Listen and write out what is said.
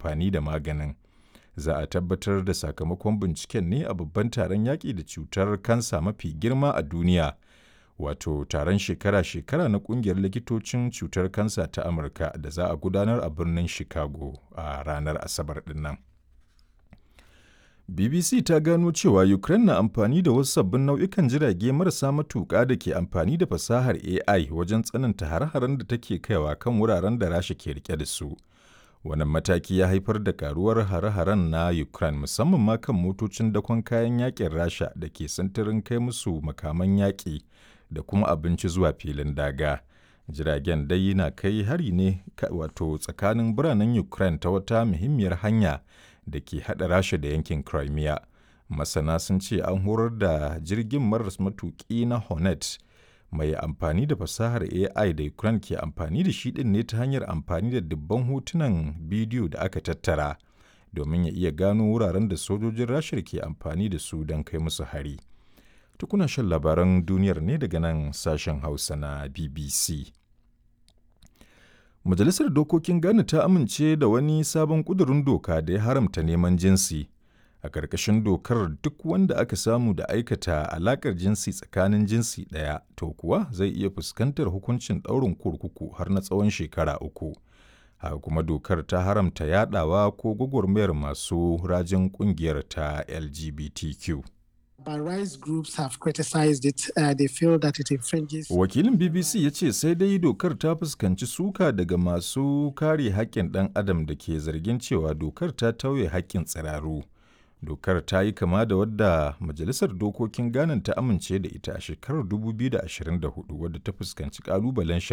amfani da maganin. Za a tabbatar da sakamakon binciken ne a babban taron yaƙi da cutar kansa mafi girma a duniya, wato taron shekara-shekara na ƙungiyar likitocin cutar kansa ta Amurka da za a gudanar a birnin Chicago a ranar Asabar ɗin. BBC ta gano cewa Ukraine na amfani da wasu sabbin nau'ikan jirage marasa matuƙa da ke amfani da fasahar AI wajen tsananta hare-haren da take kaiwa kan wuraren da Rasha ke rike da su. Wannan mataki ya haifar da karuwar hare-haren na Ukraine, musamman ma kan motocin dakon kayan yakin Rasha da ke sintirin kai musu makaman yaƙi da kuma abinci zuwa filin daga. Jiragen dai na kai hari ne wato tsakanin biranen Ukraine ta wata muhimmiyar hanya da ke haɗa Rasha da yankin Crimea. Masana sun ce an horar da jirgin maras matuƙi na Hornet mai amfani da fasahar AI da Ukraine ke amfani da shi ɗin ne ta hanyar amfani da dubban hotunan bidiyo da aka tattara domin ya iya gano wuraren da sojojin Rasha ke amfani da su don kai musu hari. Tukuna shan labaran duniyar ne daga nan sashen Hausa na BBC. Majalisar Dokokin Ghana ta amince da wani sabon ƙudurin doka da ya haramta neman jinsi. A ƙarƙashin dokar, duk wanda aka samu da aikata alaƙar jinsi tsakanin jinsi ɗaya, to kuwa zai iya fuskantar hukuncin ɗaurin kurkuku har na tsawon shekara 3. Haka kuma dokar ta haramta yaɗawa ko gwagwarmayar masu rajin ƙungiyar ta LGBTQ. Wakilin BBC ya ce sai dai dokar ta fuskanci suka daga masu kare haƙƙin ɗan adam da ke zargin cewa dokar ta tauye haƙƙin tsiraru. Dokar ta yi kama da wadda Majalisar Dokokin Ghana ta amince da ita a shekarar 2024, wadda ta fuskanci ƙalubalen shari'a.